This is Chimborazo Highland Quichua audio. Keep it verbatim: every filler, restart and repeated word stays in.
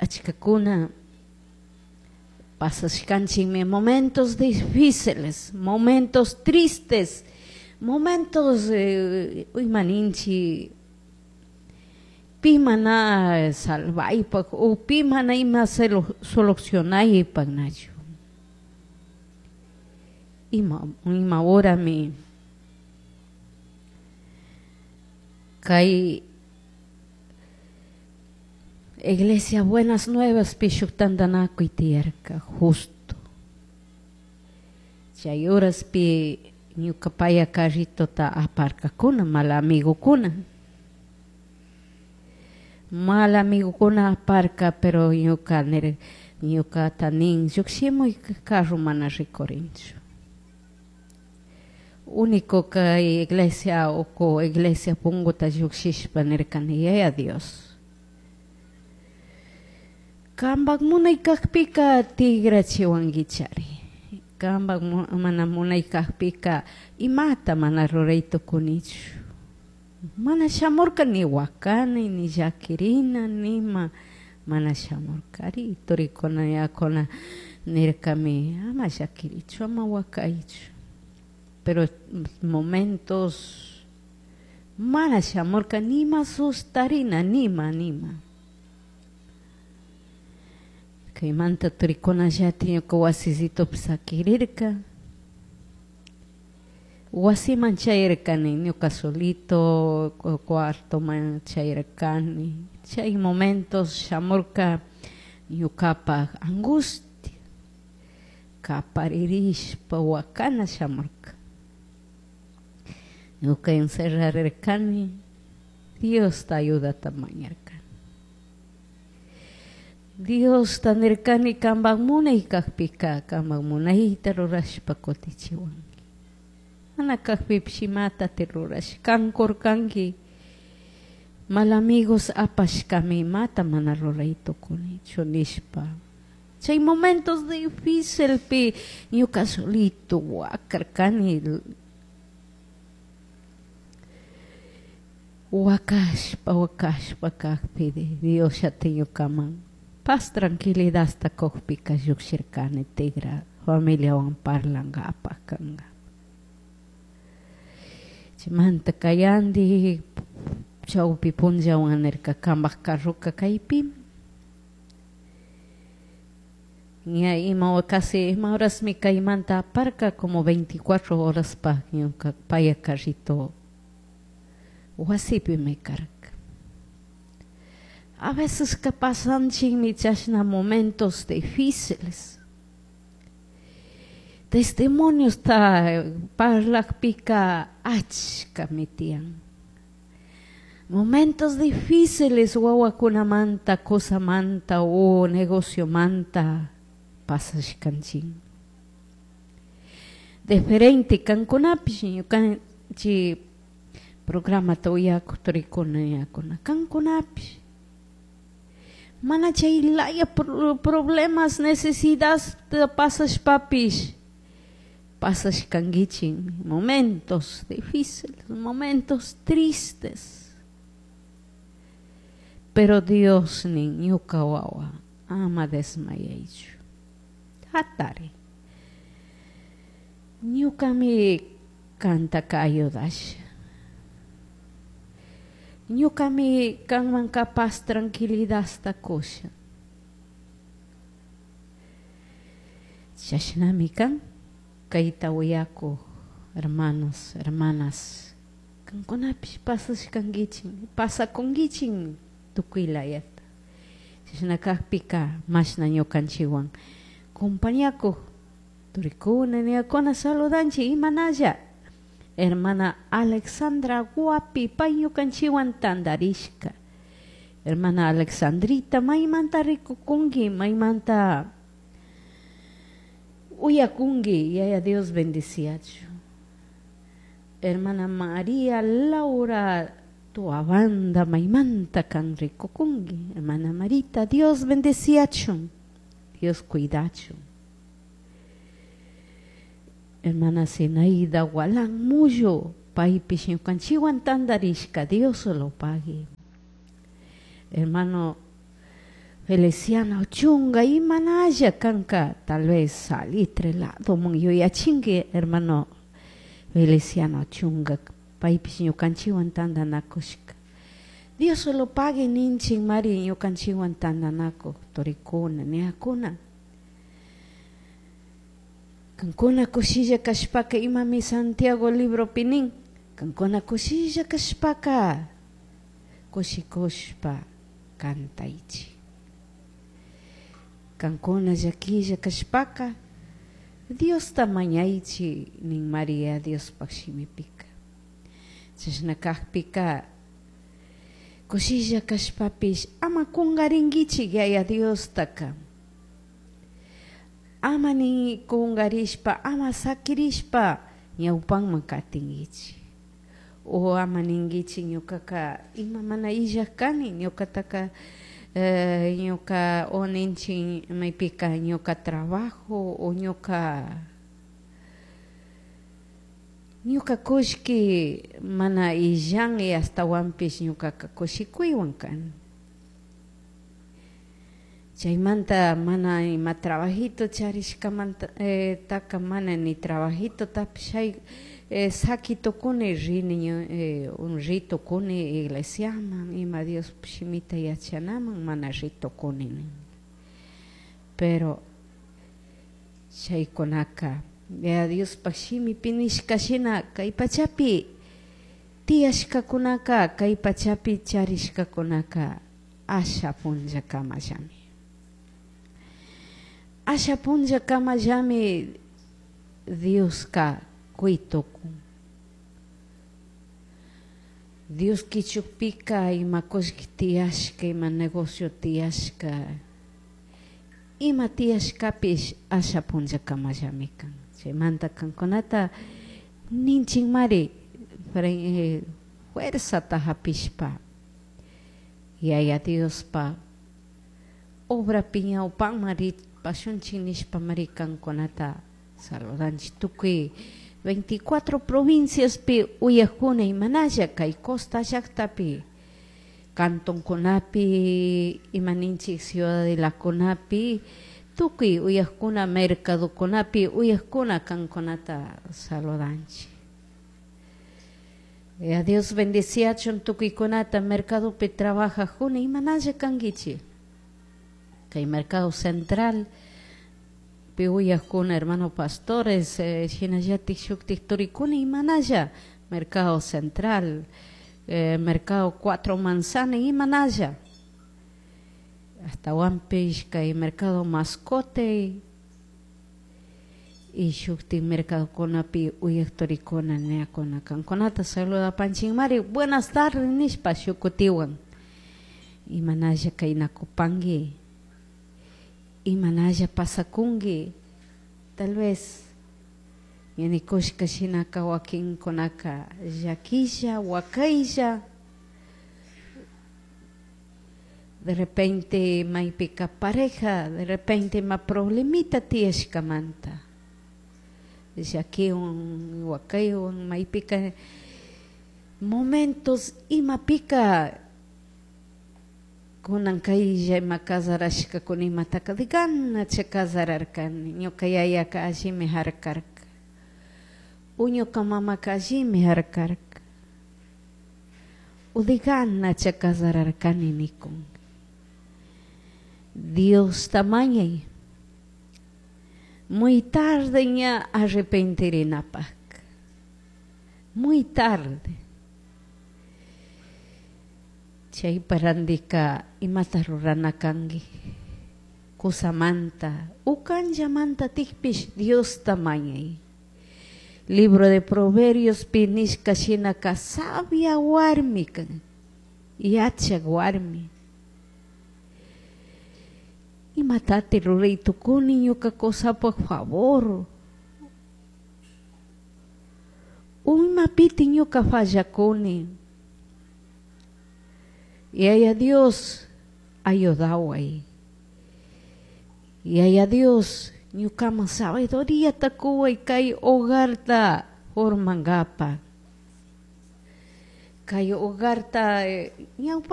Achkakuna pasashkanchikmi momentos difíciles, momentos tristes, momentos eh, imaninchik pi mana salvaypaq o pi mana ima solucionaypaq nachu. Ima, ima horami kay Iglesia Buenas Nuevas shuk tantanakuy tiyarka justo. Chay horaspi ñuka paya carritota aparkakuna mal amigokuna. Mal amigokuna aparka, pero ñuka nir ñukata nin llukshimuy carro mana rikurinchu. Único kay iglesia uku iglesia punguta llukshishpa nirkani Yaya Dios. Kampak munay kakpika tigrachiwankichari. Kampak mana munay kakpika imata mana ruray tukunichu. Mana shamurka ni wakani, ni llakirina, nima mana shamurkari. Turikuna yakuna nirkami ama llakirichu, ama wakaychu. Pero momentos mana shamurka nima sustarina, nima, nima. Kaymanta turikuna llati ñuka wasisitopi sakirirka. Wasiman chayarkani ñuka solito, cuartoman chayarkani. Chay momentos shamurka ñukapaj angustia, kaparirishpa wakana shamurka. Ñuka encerrarirkani, Diosta ayudata mañarkani. Diosta nirkani kampak munay kakpika, kampak munayta rurashpa kutichiwanki. Mana kakpipish imatati rurash, kankurkanki. Mal amigos apashkami imata mana ruray tukunichu nishpa. Chay momentos difícilpi ñuka solito wakarkani. Wakashpa, wakashpa kakpi Dios llati ñukaman paz tranquilidadta kukpika llukshirkani tigra familiawan parlankapak kanka. Chaymanta kayandi chawpi punllawan nirka kampak carroka kaypimi. Ña ima casi ima horasmi kaymanta aparka como veinticuatro horas pa ñuka paya carrito wasipimi karka. A veces que pasanchikmi chashna momentos difíciles. Testimoniosta parlakpika achkami tiyan. Momentos difíciles wawakunamanta, qosamanta o negociomanta pasashkanchik. Diferente kankunapish ñukanchik programata uyakuq turikuna yakuna kankunapish. Mana chay laya problemas, necesidades pasashpapish pasashkankichik momentos difíciles, momentos tristes. Pero Dios nin ñuka wawa ama desmayaychu. Hatari. Ñukami kantaka ayudasha. Ñukami kanman capaz tranquilidadta kusha. Chashnami kan kayta uyakuq hermanos, hermanas. Kankunapish pasashkankichik, pasakunkichik tukuy layata. Chashna kakpika mashna ñukanchikwan compañakuq turikuna niyakuna saludanchik imanalla. Hermana Alexandra Guapi pay ñukanchikwan tantarishka. Hermana Alexandrita maymanta rikukunki, maymanta uyakunki, Yaya Dios bendiciachu. Hermana María Laura Tuabanda maymanta kan rikukunki. Hermana Marita, Dios bendiciachu, Dios cuidachu. Hermana Zenaida Gualán Muyo, paypish ñukanchikwan tantarishka, Dios lo pague. Hermano Feliciano Chunga imanalla kanka tal vez Salitre ladoman yuyachinki hermano Feliciano Chunga paypish ñukanchikwan tantanakushka Dios lo pague ninchik mari ñukanchikwan tantanakuk turikuna niyakuna kankuna kushilla kashpaka imami Santiago libropi nin kankuna kushilla kashpaka kushikushpa kantaychik kankuna llakilla kashpaka Diosta mañaychik nin Maria Diospaj shimipika chashna kakpika kushilla kashpapish ama kunkarinkichik Yaya Diostaka ama ni kunkarishpa ama sakirishpa ñawpanman katinkichik o ama ninkichik ñukaka ima mana illak kani ñukataka eh, ñuka o ninchik maypika ñuka trabajo o ñuka ñuka kullki mana illan y ashtawanpish ñukaka kushikuywan kani chaymanta mana ima trabajito charishkamanta eh, taka mana ni trabajitotapish eh, saki tukuni rini eh, un ritukuni iglesiaman ima Dios shimita yachanaman mana ritukuni nin pero chaykunaka ya Diospaj shimipi nishka shina kay pachapi tiyashkakunaka kay pachapi charishkakunaka asha punllakamallami asha punllakamallami Dioska kuy tukun Dios kichukpika ima kullki tiyashka ima negocio tiyashka ima tiyashkapish asha punllakamallami kan chaymanta kankunata ninchikmari eh, fuerzata hapishpa Yaya Diospa obrapi ñawpanman ripashunchik nishpamari kankunata saludanchik tukuy veinticuatro provinciaspi uyakuna imanalla kay costa llaktapi cantonkunapi ima ninchik ciudadelakunapi tukuy uyakuna mercadokunapi uyakuna kankunata saludanchik. Ya Dios bendiciachun tukuykunata mercadopi trabajajuna imanalla kankichik kay mercado central pi uyakuna hermano pastores eh, shinallatik shuktik turikuna imanalla mercado central eh, mercado cuatro manzana imanalla ashtawanpish kay mercado mascote y shuktik mercadokunapi uyak turikuna niyakuna kankunata saludapanchikmari buenas tardes nishpa shukutiwan imanalla kaynakupanki imanalla pasakunki tal vez ñanikushka shinaka wakinkunaka llakilla wakaylla de repente maypika pareja de repente ima problemita tiyashkamanta llakiwan wakaywan maypika momentos imapika kunan kaylla ima casarashkakuna imataka de ganacha casararkani ñuka yayaka allimi harkarka o ñuka mamaka allimi harkarka o de ganacha casararkani nikun Diosta mañay muy tarde ña arrepentirinapaj muy tarde chaypa randika imata rurana kanki kusamanta ukanllamanta tikpish Diosta mañay libro de Proverbios pi nishka shinaka sabia warmi kan yachak warmi imatati ruray tukuni ñuka kusapaj favor o imapiti ñuka fallakuni Yaya Dios ayudaway Yaya Dios ñukaman sabiduríata kuway kay hogarta formankapa kay hogarta ñawpa